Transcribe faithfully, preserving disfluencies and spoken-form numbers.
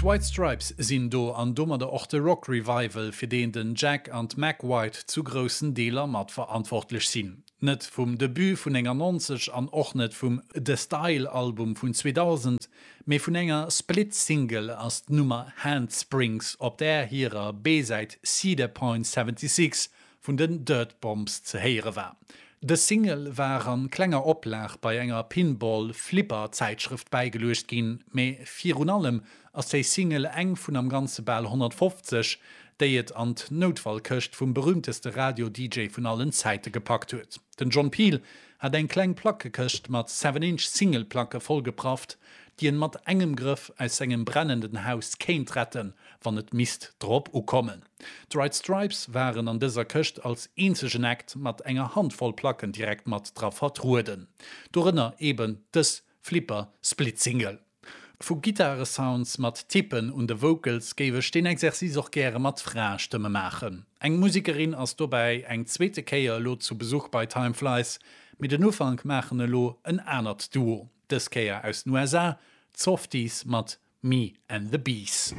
D'White Stripes sinn do an domadder och de Rock Revival, fir deen den Jack an d'Meg White zu groussen Deeler mat verantwortlech sinn. Net vum Debut vun néngannonzeg an och net vum The Style Album vun zweedausend, mee vun enger Split Single ass d'Nummer Handsprings op där hirer B-Säit Cedar Point seventy-six vun den Dirtbombs ze héiere war. Dës Single war an klenger Oplag bei enger Pinball Flipper Zäitschrëft bäigeluecht ginn, mee virun allem ass déi Single eng vun am Ganze bal honnertfofzeg, déi et an d'Noutfallkëscht vum berühmteste Radio-D J vun allen Zäite gepackt huet. Den John Peel hat eng kleng Plackekëscht mat Seven Inch Single-Placke vollgeprafft, déi en mat engem Grëff aus sengem brennenden Haus kéint retten, wann et misst drop ukommen. D'White Stripes waren an dëser Këscht als eenzegen Act mat enger Handvoll Placken direkt mat dra vertrueden. Dorënner eben dës Flipper Split Single. Vu Gittaresounds mat Tippen un de Vocals géif ech deen Exercice och gäre mat Fraestëmme maachen. Eng Musekerin ass dobäi eng zweete Kéier elo zu Besuch bei Time Flies, mee den Ufank maachen elo en anert Duo, dës Kéier aus den U S A, d'Softies mat Me and the Bees.